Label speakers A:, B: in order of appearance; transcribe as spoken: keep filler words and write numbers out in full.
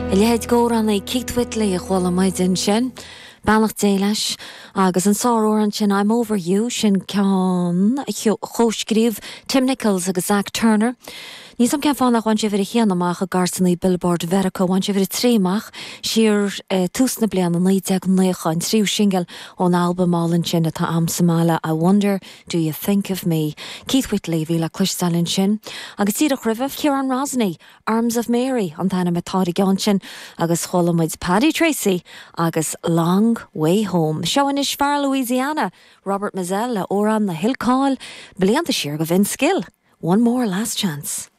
A: A leithéid d'amhránaí Keith Whitley a chuala muid ansin. Beannacht Dé leis agus an sáramhrán sin I'm Over You sin ceann a chomhscríobh Tim Nichols agus Zach Turner. Ní sam cén fáth nach bhain sé uimhir a haon amach i gcairteanna Billboard Mheiriceá bhain sé uimhir a trí amach siar eh, tús na bliana naoi déag nócha an tríú singil ón albam álainn sin atá agam sa mbaile I wonder do you think of me. Keith Whitley bhí le cloisteáil ansin. Agus díreach roimhe Ciarán Rosney, Arms of Mary an t-ainm atá ar an gceann sin agus chuala muid Paddy Tracy agus Long Way Home. Seo anois fear Louisiana, Robert Mizzell le amhrán a thuill cáil blianta siar go Vince Gill. One more last chance.